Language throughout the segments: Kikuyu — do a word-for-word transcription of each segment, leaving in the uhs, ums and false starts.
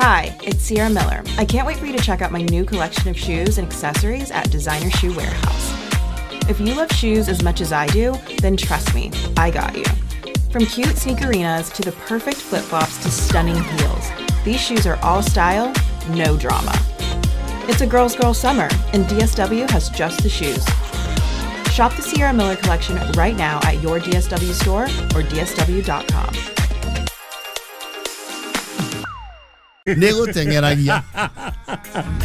Hi, it's Sierra Miller. I can't wait for you to check out my new collection of shoes and accessories at Designer Shoe Warehouse. If you love shoes as much as I do, then trust me, I got you. From cute sneakerinas to the perfect flip-flops to stunning heels, these shoes are all style, no drama. It's a girl's girl summer, and D S W has just the shoes. Shop the Sierra Miller collection right now at your D S W store or D S W dot com. Nä gå teng'eragia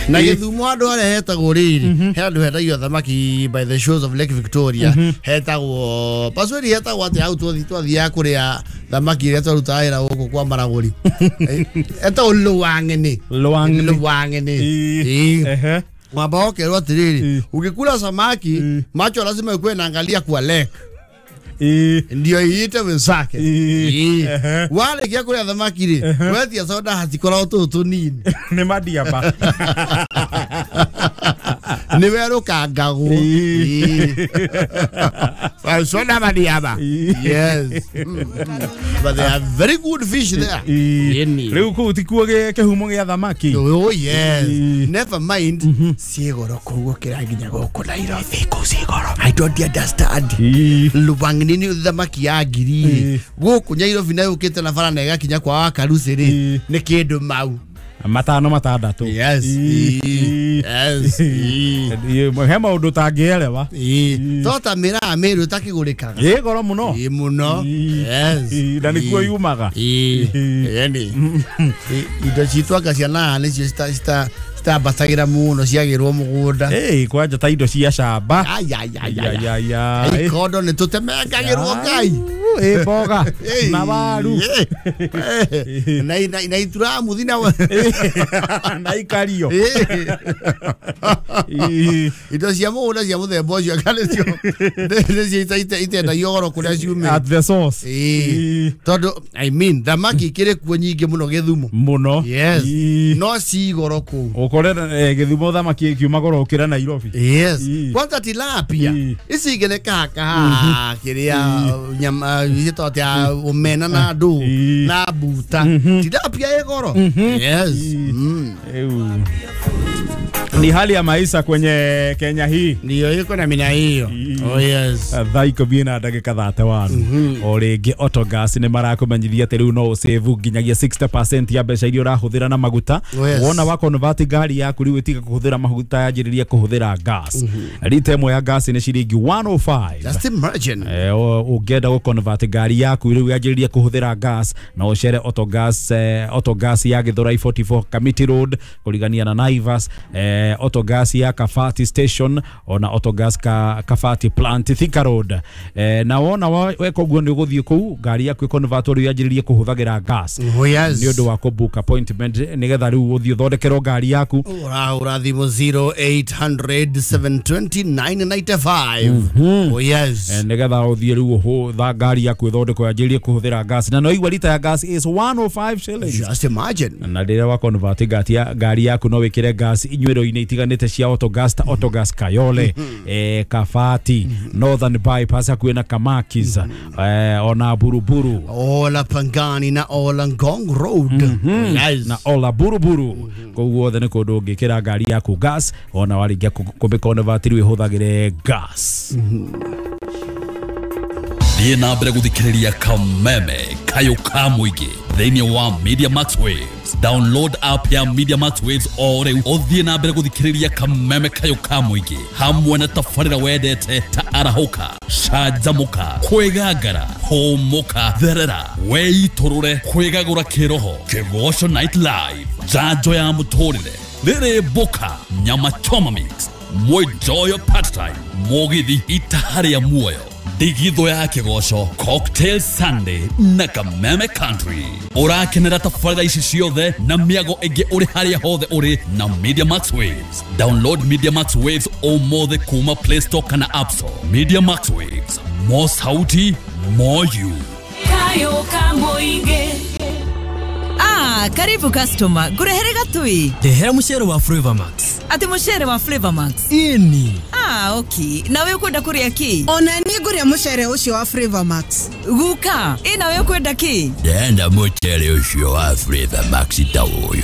na gĩthumo andũ arĩa hetagwo rĩrĩ he andũ hendagio thamaki by the shores of Lake Victoria hetagwo paswedi hetagwo atĩ hau twathiaga kũrĩa thamaki ĩrĩa twarutaga wĩra gũkũ kwa Maragũri etagwo Lwang'ene Lwang'ene ĩĩ mwamba ũkerwo atĩrĩrĩ ũngĩkula samaki macho lazima ikuwe naangalia kwa lake ndio iite wenzake wale kia kuria thamaki ri wetia soda hatikoragwo tũtũ tũnini nĩ madiaba nĩ werũkangagwo soda madiaba yes but they are very good fish there rĩu kũu tikuo kĩhumo gĩa thamaki oh yes never mind ciĩ goro kũu gũkĩra nginya gũkũ Nairobi kũu ciĩ goro I don't understand Lwang'ene nini thamaki ya ngiri gũkũ Nairobi na yũkĩte na bara na ĩgakinya kwa Wakarucĩ rĩ nĩ kĩndũ mau matano matandatũ yes yes he maũndũ ũtangĩelewa to ta mĩraa mĩrũ ĩtakĩgũrĩkaga ĩ goro mũno ĩ mũno yes na nĩkuo yumaga yani indo citũ anga cia naha nĩcio cita citambatagĩra mũno ciagĩrwo mũgũnda ĩ kwanja ta indo cia camba ikondo nĩ tũtemengagĩrwo Ngai ĩ mboga na waru na na ituramuthi na na ikario indo cia mũgũnda cia mũthemba ũcio anga nĩcio nĩcio itendagio goro kũrĩa ciumĩte at the source tondũ I mean thamaki ikĩrĩ kuo nyingĩ mũno Gĩthumo mũno yes no ci goro kũu ũkore Gĩthumo thamaki ĩkiuma goro gũkĩra Nairobi yes kwanza tilapia ici ingĩ nĩ kahakaha kĩrĩa nyama gĩtagwo atĩa omena na ndũ na mbuta tilapia ĩ goro yes ni hali ya maisha kwenye Kenya hii ndio iko na mina hiyo oh yes thaa ikũmi na ndagĩka thate wanu o rĩngĩ Autogas nĩ marakũmenyithia atĩ rĩu no ũsave nginyagia sixty percent ya mbeca iria ũrahũthĩra na maguta wona wa convert ngari yaku rĩu ĩtiga kũhũthĩra maguta yanjĩrĩria kũhũthĩra gas rita ĩmwe ya gas nĩ ciringi one oh five just imagine ũngĩenda gũ convert ngari yaku rĩu yanjĩrĩria kũhũthĩra gas na ũcere Autogas Autogas ya Githurai forty-four Kamiti Road kũrigania na Naivas Autogas ya Kafati Station ona Autogas ka Kafati Plant Thika Road eh, na wona weka ũguo nĩ ũgũthiĩ kũu ngari yaku ĩconvert rĩu yanjĩrĩrie kũhũthagĩra gas oh yes nĩ ũndũ wa kũbook appointment nĩgetha rĩu ũthiĩ ũthondekerwo ngari yaku ũrahũra thimũ zero eight hundred seven twenty nine ninety five oh yes eh, nĩgetha ũthiĩ rĩu ũhũtha ngari yaku ĩthondekwo yanjĩrĩrie kũhũthĩra gas na no igua rita ya gas is one oh five shillings just imagine na rĩrĩa wa convert ngari yaku no wĩkĩre gas inyuĩro-inĩ itiganĩte cia Autogas ta Autogas Kayole eh, Kafati Northern Bypass hakuhĩ na Kamakis eh, ona Buruburu Ola Pangani na Ola Ngong Road yes. na Ola Buruburu kũu guothe nĩ kũndũ ũngĩkĩra ngari yaku gas ona warĩkia kũmĩconvert rĩu ĩhũthagĩre gas. Thiĩ na mbere gũthikĩrĩria Kameme Kayũ ka mũingĩ thĩinĩ wa Media Max Waves. Download app ya Media Max Waves o rĩu ũthiĩ na mbere gũthikĩrĩria Kameme Kayũ ka mũingĩ hamwe na tabarĩra wendete ta arahũka, canjamũka, kwĩgangara, hũmũka, therera, weitũrũre, kwĩgagũra kĩroho, Kĩgoco Night Live, njanjo ya mũtũrĩre, rĩrĩ mboka, nyama choma mix, mwenjoyo part time, mũgithi itaha rĩa muoyo, ndigithũ ya kĩgoco, Cocktail Sunday na Kameme Country. Ũrakenera tabarĩra ici ciothe na mĩago ĩngĩ ũrĩ harĩa hothe ũrĩ na Media Max Waves. Download Media Max Waves ũmũthĩ kuma Play Store kana App Store. Media Max Waves, more sauti, more you. Kayo Kamoige. Ah, karibu customer. Ngurehere gatui. Ndehera mucere wa Flavor Max. Ati mucere wa Flavor Max. Ini. Ah, okay. Nawe ukwenda kuria ki? Ona ni nguria mucere ucio wa Flavor Max. Guka, ĩ nawe ukwenda ki? Ndenda mucere ucio wa Flavor Max ta uyu.